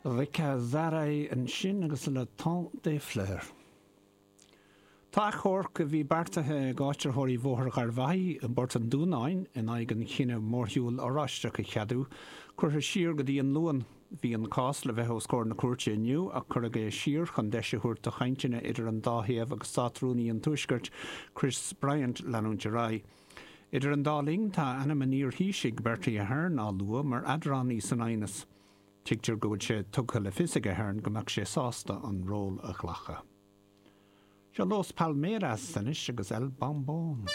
Ricazaray ansin agus Le Temps des Fleurs. Tá achomharc a bhí beartaithe ag áitritheoirí Bhóthar Gharbhachaidh i bPort an Dúnáin in aghaidh an chinnidh mórshiúl Oráisteach a cheadú, curtha siar go dtí an Luan. Bhí an cás le bheith os comhair na cúirte inniu ach cuireadh é siar chun deis a thabhairt do chainteanna idir an dá thaobh agus Státrúnaí an Tuaiscirt, Chris Bryant, leanúint ar aghaidh. Idir an dá linn, tá ainm an iar-Thaoisigh, Bertie Ahern, á lua mar eadránaí san aighneas. Tuigtear go bhfuil sé tugtha le fios ag Ahern go mbeadh sé sásta an ról a ghlacadh. Seo Los Palmeras anois agus El Bombón.